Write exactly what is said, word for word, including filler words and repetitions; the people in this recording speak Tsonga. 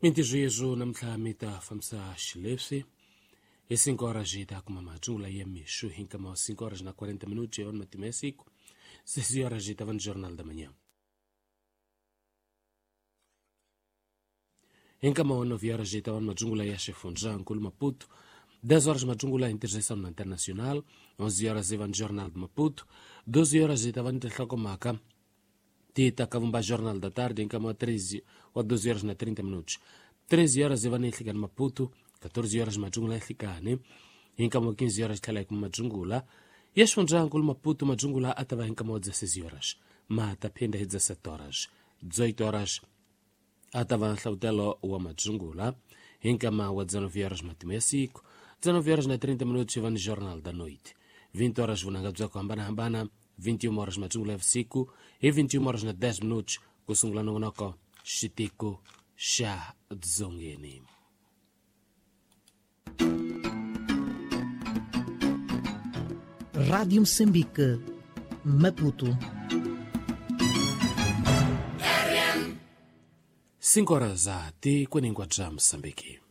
Mintirho yeswo namuntlha mi ta fambisa xileswi hi cinco horas hi ta kuma matsungula ya mixo hi nkama wa cinco horas na quarenta minutos ya matima ya siku seis horas hi ta va ni Jornal da Manhã. Hi nkama wa nove horas hi ta va ni matsungula ya xifundzankulu Maputo, dez horas matsungula ya interseção na Internacional, onze horas hi va ni Jornal de Maputo, doze horas hi ta va ni tinhlokomhaka ti ta ka vumba Jornal da Tarde hi nkama wa treze wa doze horas na trinta minutos, treze horas hi va ni nhlikani Maputo, catorze horas matsungula ya nhlikani, hi nkama wa quinze horas tlhela hi kuma matsungula ya xifundzankulu Maputo. Matsungula a ta va hi nkama wa dezesseis horas, ma ta phinda hi dezessete horas, dezoito horas a ta va nhlavutelo wa matsungula hi nkama wa dezenove horas matima ya siku, dezenove horas na trinta minutos hi va ni Jornal da Noite, vinte horas vunanga bya ku hambanahambana, vinte e uma horas matsungula ya vusiku, hi vinte e uma horas na dez minutos ku sungula nongonoko xitiko xa dzongeni. Rádio Moçambique, Maputo. Cinco horas a ti kwenikwa bya Moçambique.